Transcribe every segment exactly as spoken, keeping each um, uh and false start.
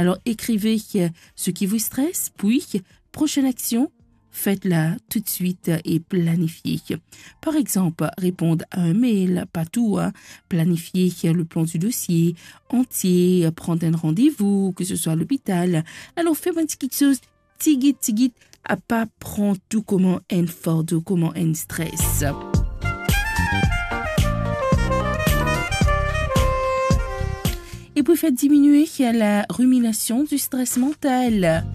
Alors, écrivez, euh, ce qui vous stresse, puis, prochaine action, faites-la tout de suite et planifiez. Par exemple, répondre à un mail, pas tout, hein, planifier le plan du dossier entier, prendre un rendez-vous, que ce soit à l'hôpital. Alors, faites un petit quelque chose, tigit, tigit, a pa pran tou kouma enn fardo, kouma enn stres. E pou fer diminue la ruminasion du stress mental.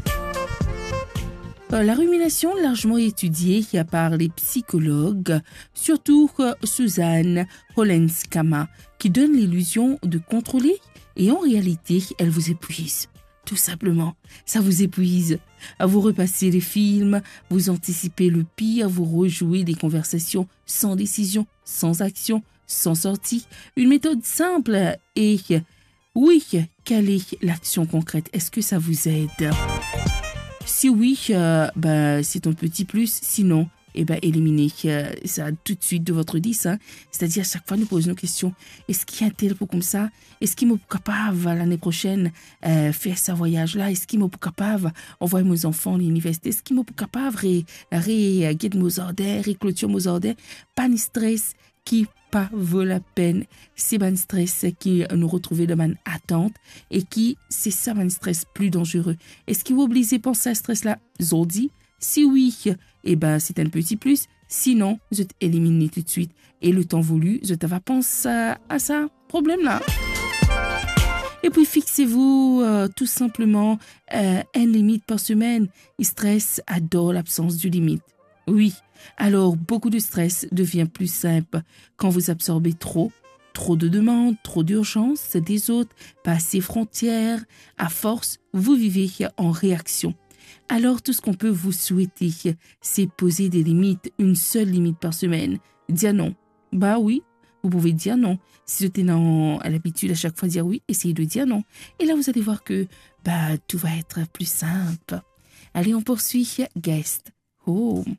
Euh, la rumination, largement étudiée par les psychologues, surtout, euh, Suzanne Hollenskama, qui donne l'illusion de contrôler et en réalité, elle vous épuise. Tout simplement, ça vous épuise. Vous repassez les films, vous anticipez le pire, vous rejouez des conversations sans décision, sans action, sans sortie. Une méthode simple et oui, quelle est l'action concrète ? Est-ce que ça vous aide ? Si oui, euh, ben, c'est un petit plus. Sinon, eh ben, éliminez, euh, ça tout de suite de votre liste, hein. C'est-à-dire, chaque fois, nous posons nos questions. Est-ce qu'il y a un tel pour comme ça ? Eski mo pou kapav, lane prosenn, eh, fer sa vwayaz la? Eski mo pou kapav anvway mo zanfan liniversite? Eski mo pou kapav re-, re-, get mo zardin, reklotir mo zardin? Bann stres ki pa vo lapenn, se bann stres ki nou retrouve dan bann atant e ki se sa bann stres pli danzere. Eski ou oblize pans sa stres la zordi? Si wi, e ben, se enn peti plis. Sinon, zot elimin li toutswit. E letan voli, zot ava pans a, a sa problem la. Et puis, fixez-vous, euh, tout simplement, euh, une limite par semaine. Stres ador l'absence de limite. Oui. Alors, beaucoup de stress devient plus simple quand vous absorbez trop, trop de demandes, trop d'urgences des autres, pas assez frontières. À force, vous vivez en réaction. Alors, tout ce qu'on peut vous souhaiter, c'est poser des limites, une seule limite par semaine. Dire non. Bah oui, vous pouvez dire non. Si vous avez l'habitude à chaque fois dire oui, essayez de dire non. Et là, vous allez voir que, bah, tout va être plus simple. Allez, on poursuit. Guest. Home.